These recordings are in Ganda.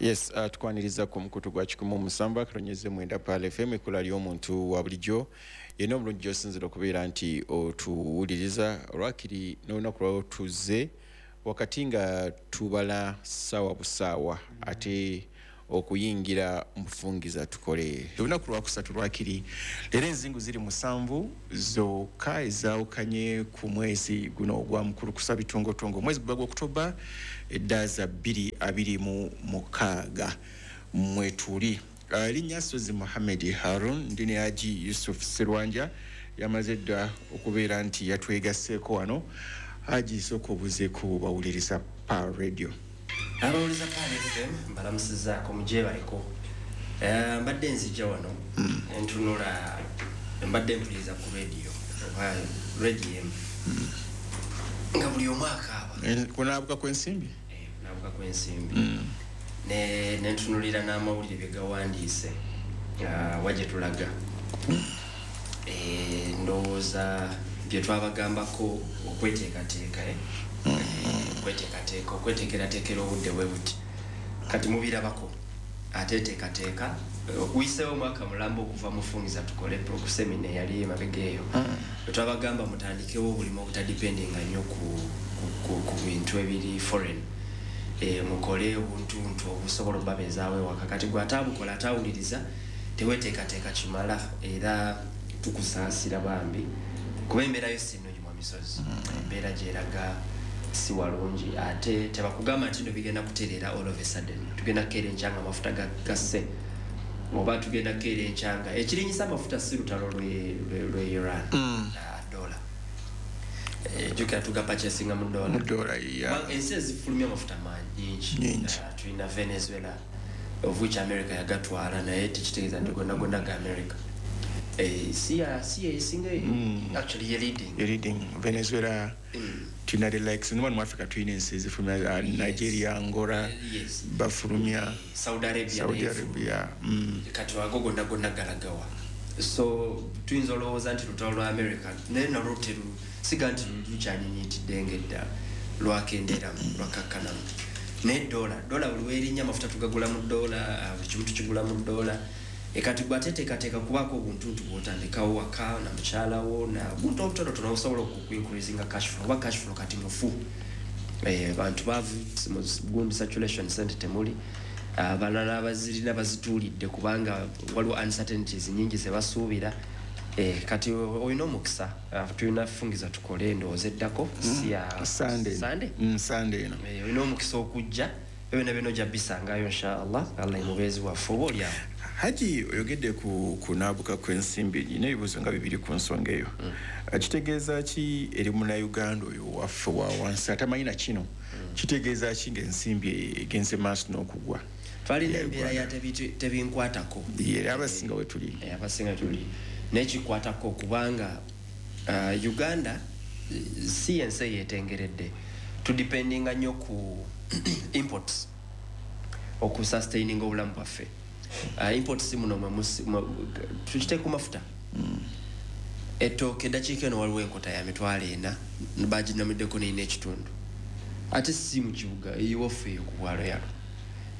Yes, tukwaniriza ku mukutu gwa 107.9 Pearl FM, ekkula ly'omuntu wa bulijjo. Yena obulungi gy'osinzira okubeera nti otuwuliriza olwakiri n'olunaku lwawo tuzze wakati nga tubala ssaawa busaawa ate okuyingira mufungiza tukole olunaku lwakusatu lwakiri leero. Enzingu ziri 7 zokka ezaawukanye ku mwezi guno ogwa mukulu kusa bitongotongo, omwezi guba gwa Okutoba eddaza 2026 mwetuli. Erinnya Sozi Muhammed Harun, ndi ne Haji Yusuf Serwanja, yamaze dda okubeera nti yatwegasseeko wano. Haji, sooka obuzeeko bawuliriza Pearl Radio. Abawuliza Pearl FM mbalamusizaako, mujebaleko. Mbadde nzija wano entunula, mbadde mpuliriza ku radio oba radio emu nga buli omu akaaba. Kunaabuka kw'ensimbi. Naabuka kw'ensimbi. Nentunulira n'amawulire bye gawandiise, wa gye tulaga. Ndowooza bye twabagambako okweteekateeka, eh? Okweteekateeka, okweteekerateekera obudde bwe buti kati mubirabako ateteekateeka okuyiseewo omwaka mulamba okuva mufungiza tukole seminar eyali emabega eyo bwe twabagamba mutandikewo obulimu obutadependinga nnyo ku bintu ebiri foreign. Mukole obuntuntu obusobola obubabeezaawo ewaka. Kati gwe ataabukola, ataawuliriza, teweteekateeka kimala, era tukusaasira bambi, kuba embeera yo si nnungi. Mu misozi embeera gyeraga si walungi, ate tebakugamba nti no bigenda kutereera all of a sudden. Tugenda kukeera enkyanga amafuta gasse, oba tugenda kukeera enkyanga ekirinyisa amafuta si lutalo lwe Iran. Dola. Jjukira tugapurchasinga mu dola. Mu dola, yeah. Kubanga ensi ezifulumya amafuta nyingi. Nyingi. Tulina Venezuela, of which America yagatwala, naye tekitegeeza nti gonna gonna ga America. Si yesinga, actually ye leading. Ye leading Venezuela. Tulina the likes wano mu Africa, tulina ensi ezifulumya, Nigeria, Angola. Bafulumya. Saudi Arabia. Saudi Naye Arabia. Kati ago gonna gonna galagawa? So tuyinza olowooza nti lutalo lwa America, naye nalwo teru siga nti lukyanyinyitidde ng'edda, lwakenderamu, lwakakkanamu. Naye dola buli werinnya, amafuta tugagula mu dola, buli kimu tukigula mu dola. Kati gwe ateteekateeka kubaako obuntuntu bwotandikawo waka na mukyalawo na buntu obutonotono obusobola okuincreasinga cash flow, oba cash flow kati mufu. Bantu baavu mu gundi saturation, sente temuli. Abalala abazirina bazituulidde kubanga waliwo uncertainties nyingi zebasuubira. Kati olina omukisa. Tulina fungiza tukole endowooza eddako si ya Sunday. Sunday? Sunday eno. Olina omukisa okujja, ebyo byonna ojja bisangayo inshallah, Allah emubeezi waffe oba oliawo. Haji, oyogedde ku kunaabuka kw'ensimbi, nina ebibuuzo nga bibiri ku nsonga eyo. Kitegeeza ki eri munnayuganda oyo waffe wa wansi atamanyi na kino? Kitegeeza ki ng'ensimbi egenze maaso n'okugwa? Twalina Ya embeera ya Uganda. Tebinkwatako. Ye, abasinga we tuli. Abasinga tuli naye kikwatako kubanga Uganda si ensi eyetengeredde. Tudependinga nnyo ku imports okusustaininga obulamu bwaffe. Imports muno tukite ku mafuta, ettooke. Eddakiika eno waliwo enkota ya 400,000 baginamiddeko neina ekitundu, ate si mu kibuga, ewaffe eyo ku bwalo yalo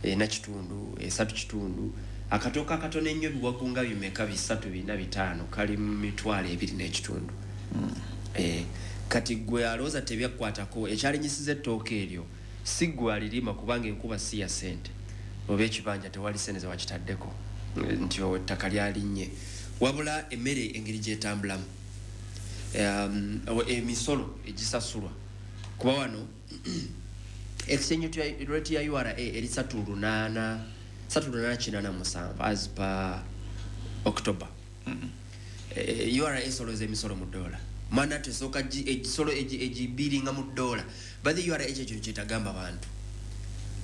ena kitundu, esatu kitundu. Akatooke akatono ennyo, biwagu nga bimeka, bisatu, bina, bitaano, kali mu 25,000. Kati gwe alowooza tebyakukwatako, ekyalinyisiza ettooke eryo si gwe alirima, kubanga enkuba si ya ssente oba ekibanja tewali ssente zewakitaddeko nti ettaka lyalinnye, wabula emmere engeri gyetambulamu, emisolo egisasulwa, kuba wano exchange rate ya URA eri 38, 3887 as per October. URA esoloza emisolo mu dola, mana tesooka egisolo egibiringa mu dola. But the URA ekyo kintu kyetagamba bantu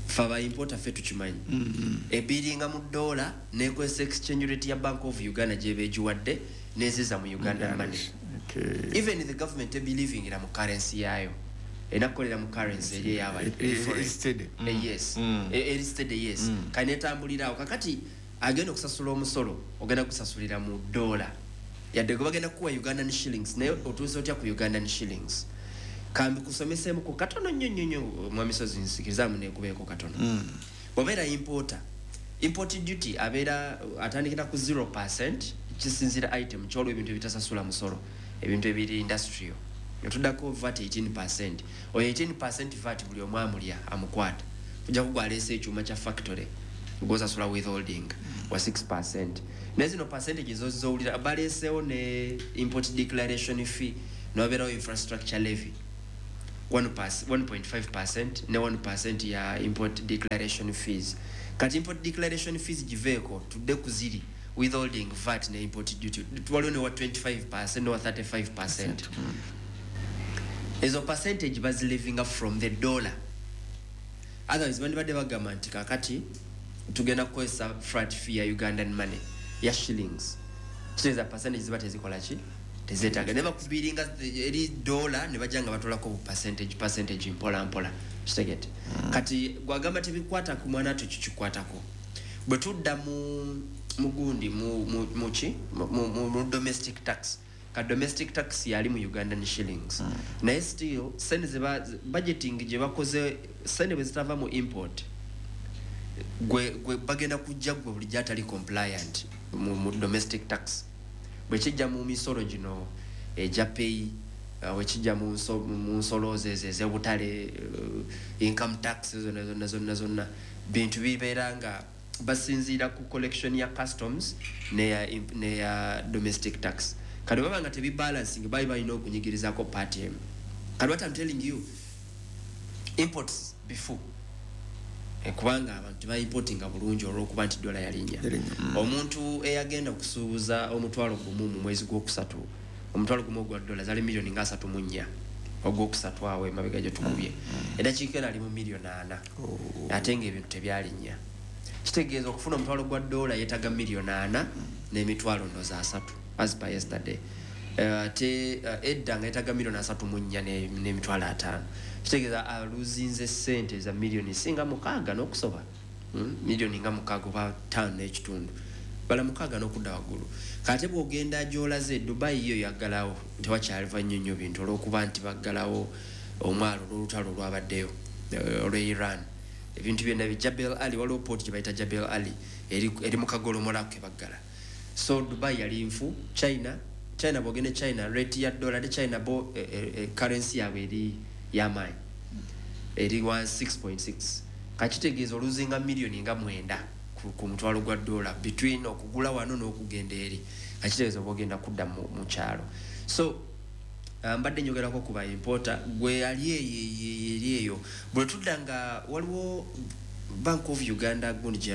fe abaimporter ffe tukimanyi. Ebiringa mu dola nekozesa exchange rate ya Bank of Uganda gyeba egiwadde neziza mu Uganda money. Even the government ebelievingira mu currency yaayo, erina kukolera mu currency eri eyaba Eri steady. Yes. Eri steady, yes. Kati netambulirawo. Kakati agenda okusasula omusolo ogenda gusasulira mu dola, yadde gwe bagenda kukuwa Ugandan shillings, naye otuuse otya ku Ugandan shillings? Kambi kusomeseemuko katono nnyo nnyo nnyo, mwami Sozi, nsikirizaamu nekubeeko katono. Bw'obeera importer, import duty abeera atandikira ku 0%, kisinzira item kyolwa. Ebintu ebitasasula musolo, ebintu ebiri industrial, netuddako VAT 18%. Oyo 18% VAT buli omu amulya, amukwata. Ojja kugwaleesa ekyuma kya factory, gwosasula withholding wa 6%. Naye zino percentage zozowulira baleesewo ne import declaration fee, nobeerawo infrastructure levy 1.5% ne 1% ya import declaration fees. Kati import declaration fees giveeko, tudde ku ziri withholding, VAT ne import duty. Waliwo ne wa 25% ne wa 35%. Ezo percentage bazilevinga from the dollar. Otherwise bandibadde bagamba nti kakati tugenda kukozesa flat fee ya Ugandan money, ya shillings. Kitegeeza percentage ziba tezikola ki, tezeetaaga. Ne bakubiringa eri dollar, ne bajja nga batolako bu percentage mpola mpola. Kitegete? Kati gwagamba tebikwata ku mwana, tukikikwatako. Bwe tudda mu mugundi muki mu domestic tax, ka domestic tax yali mu Ugandan shillings. Naye still sente zeba budgeting gye bakoze, sente bwe zitava mu import, gwe bagenda kujja gwe bulijjo atali compliant mu domestic tax. Bwe kijja mu misolo gino egya pay, bwe kijja mu nsolo ezo ez'obutale, income tax, zonna zonna zonna zonna, bintu bibeera nga basinziira ku collection ya customs neya domestic tax. Kati baba nga tebibalancing, bali balina okunyigirizako part emu. Kati what I'm telling you, imports bifu. Kubanga abantu tebaimportinga bulungi olwokuba nti dola yalinnya. Yalinnya. Omuntu eyagenda okusuubuza 10,000 mu mwezi gwokusatu, 10,000 ogwa dola zali miliyoni nga 34 ogwokusatu awo emabega gye tukubye, eddakiika eno ali mu miliyoni 4. Ate ngaebintu tebyalinnya. Kitegeeza okufuna omutwalo gwa dola yeetaga miliyoni 4 n'emitwalo ndoza 30 as per yesterday. Ate edda nga yeetaga miliyoni 34 n'emitwalo 50. Kitegeeza aluzinze sente za miliyoni singa 6 n'okusoba. Miliyoni nga 6 oba 5 n'ekitundu, bala 6 n'okudda waggulu. Kate bw'ogenda gy'olaze, Dubai yo yaggalawo, tewakyaliva nnyo nnyo bintu olw'okuba nti baggalawo omwalo olw'olutalo olwabaddeyo, olw'e Iran. Ebintu byonna bi Jebel Ali, waliwo port gye bayita Jebel Ali eri mu kagolomola ke baggala. So Dubai yali nfu. China, bw'ogenda e China, rate ya dollar ate China bo currency yaabwe eri y'amaanyi, eri wa 6.6. Kakitegeeza oluzinga miliyoni nga 9 ku mutwalo gwa dola between okugula wano n'okugenda eri. Kakitegeeza oba ogenda kudda mu kyalo. So mbadde njogerako ku ba importer. Gwe ali eyo, eri eyo, bwe tudda nga waliwo Bank of Uganda gundi gye